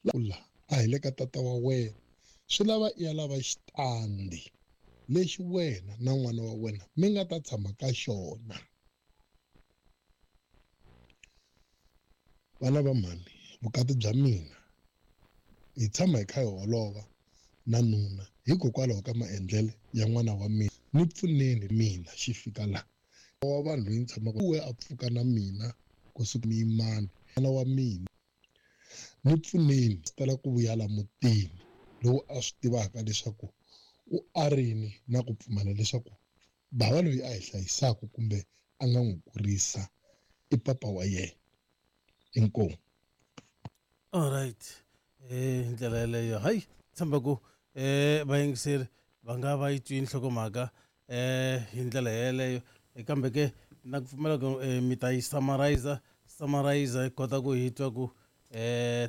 La a hi le ka tata wa wena swi lava i ya lava xitandi lexi wena na n'wana wa wena mi nga ta tshama ka xona. Vana va mhani vukati bya mina hi tshama hi kha hi holova na nuna hikokwalaho ka maendlelo ya n'wana wa mina ni pfuneni mina xi fika la wa vanhu loyi ni tshamaka we a pfuka na mina kusuka muyimani n'wana wa mina ni pfuneni swi tala ku vuya la mutini lowu a swi tivaka leswaku u arini na ku pfumela leswaku bava loyi a hi hlayisaka kumbe a nga n'wi kurisa i papa wa yena. Inkomu. Alright hi ndlela yeleyo hayi tshemba ku vayingiseri va nga va yi twini nhlokomhaka hi ndlela yeleyo kambe ke na ku pfumela ku mi ta yi summarizer summarizer hi kota ku hi twa ku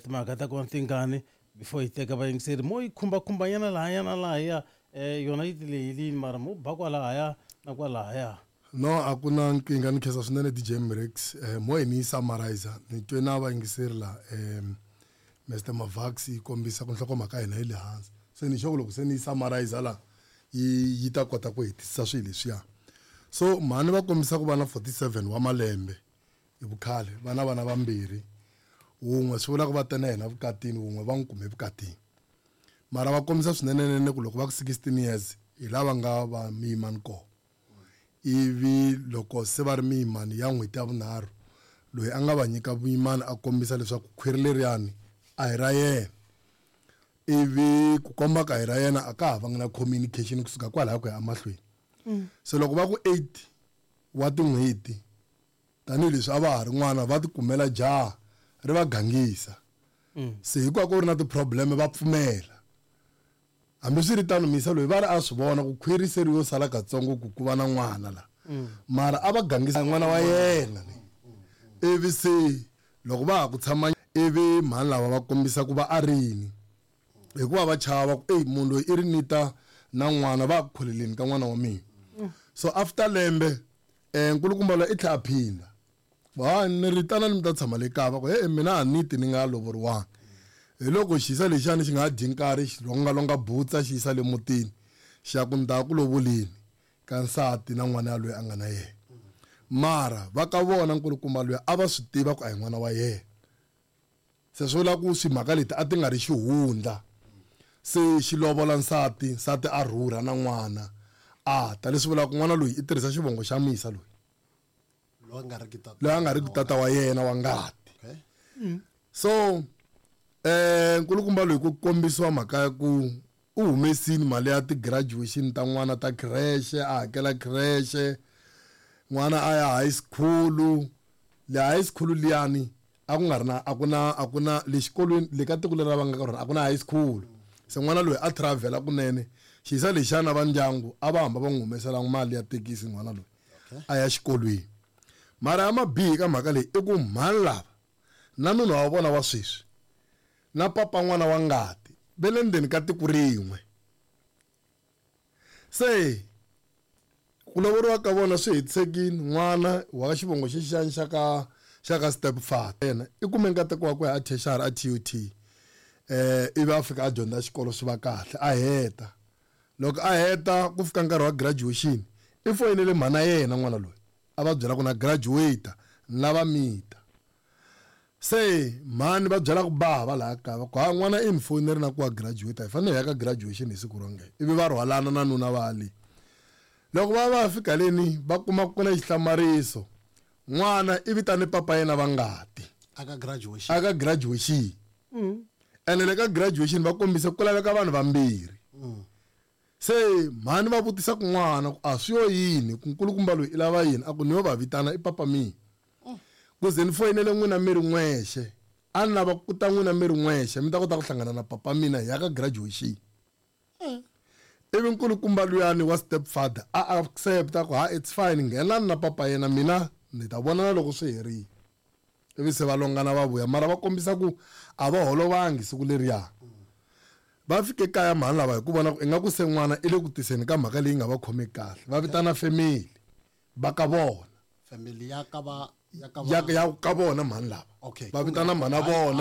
timhaka ta kona tingani before hi teka vayingiseri mo yi khumba-khumbanyana lahaya na lahaya yona yi tilehilini mara mo ba kwalahaya na kwalahaya. No a ku na nkingha ni khensa swinene DJ Mrex eh, mo hi ni yi summarizer ni twe na vayingiseri la eh, Mr Mavax yi kombisa ku nhlokomhaka ya hina yi le hansi se ni sure loko se ni yi summarizer la yi yi ta kota ku hetisisa swilo leswiya so mhani va kombisa ku va na 47 wa malembe hi vukhale va na vana vambirhi wun'we swi vula ku va te na yena vukatini wun'we va n'wi kume vukatini mara va kombisa swinenenene ku loko va ku 16 years hi lava nga va miyimani kona Ivi loko se va ri miyimani ya n'hweti ya vunharhu, loyi a nga va nyika vuyimani a kombisa leswaku khwiri leriyani a hi ra yena. Ivi ku komba ku a hi ra yena a ka ha vanga na communication kusuka kwalaya ku ya emahlweni. Se loko va ku 8 wa tin'hweti, tanihileswi a va ha ri n'wana va tikumela jaha ri va gangisa. Se hikuva ku ri na ti-problem va pfumela. Hambiswiritano, muyisa loyi va ri a swi vona ku khwiri se ri yo sala katsongo ku ku va na n'wana la. Mara a va gangisa n'wana wa yena ne. Ivi se loko va ha ku tshama ivi mhani lava va kombisa ku va arini hikuva va chava ku eyi munhu loyi i ri ni ta na n'wana va ku kholeleni ka n'wana wa mina. So after lembe nkulukumba loyi i tlhe a phinda. Ha ni ri tanani mi ta tshama le kaya va ku e mina a ni ti ni nga lovoriwanga hi loko xiyisa lexiyani xi nga ha dyi nkarhi xi longalonga butsa xi yisa le mutini xi ya ku ni ta ku lovoleni ka nsati na n'wana yaloye a nga na yena mara va ka vona nkulukumba luya a va swi tiva ku a hi n'wana wa yena se swi vula ku swimhaka leti a ti nga ri xihundla se xi lovola nsati nsati a rhurha na n'wana a ta leswi vulaka n'wana loyi i tirhisa xivongo xa misa loyi loyi a nga riki tata loyi a nga riki tata wa yena wa ngati okay. So nkulukumba loyi ku kombisiwa mhaka ya ku u humesini mali ya ti-graduation ta n'wana ta creche a hakela creche n'wana a ya high school le high school liyani a ku nga ri na a ku na a ku na le xikolweni le ka tiko leri va nga ka rona a ku na high school se n'wana loyi a travel-a kunene xiyisa lexiyana va ndyangu a va hamba va n'wi humesela mali ya thekisi n'wana loyi a ya xikolweni mara ya mabihi ka mhaka leyi i ku mhani lava na nuna wa vona wa sweswi na papa n'wana wa ngati ve le ndzeni ka tiko rin'we se ku lovoriwa ka vona swi hetisekile n'wana wa ka xivongo xexiyani xa ka xa ka step father yena i kume nkateko wa ku ya a tertiary a T_U_T ivi a fika a dyondza xikolo swi va kahle a heta Loko a heta ku fika nkarhi wa graduation i foyinele mhana yena n'wana loyi a va byela ku na graduate ni lava mita. Se mhani va byela ku bava laha kaya va ku ha n'wana i ni foyineri na ku wa graduate hi fanele hi ya ka graduation hi siku ro nge ivi va rhwalana na nuna va le. Loko va va fika leni va kuma ku na xihlamariso n'wana i vitane papa yena va ngati aka graduation aka graduation. Ene le ka graduation va kombise ku laveka vanhu vambirhi. Se mhani va vutisa ku n'wana ku a swi yo yini ku nkulukumba loyi i lava yini a ku ni yo va vitana i papa mina. Ku ze ni foyinele n'wina mi ri n'wexe a ni lava ku ta n'wina mi ri n'wexe mi ta kota ku hlangana na papa mina hi ya ka graduation. Ivi nkulukumba luyani wa step father a accept-a ku ha it's fine nghenani na papa yena mina ni ta vonana loko swi herile. Ivi se va longana va vuya mara va kombisa ku a va holovangi siku leriya. Va fike kaya mhani lava hi ku vona ku ingaku se n'wana i le ku tiseni ka mhaka leyi nga va khomeki kahle va vitana family va ka vona. Family ya ka va ya ka va ya ka vona mhani lava. Okay. Va vitana mhana vona.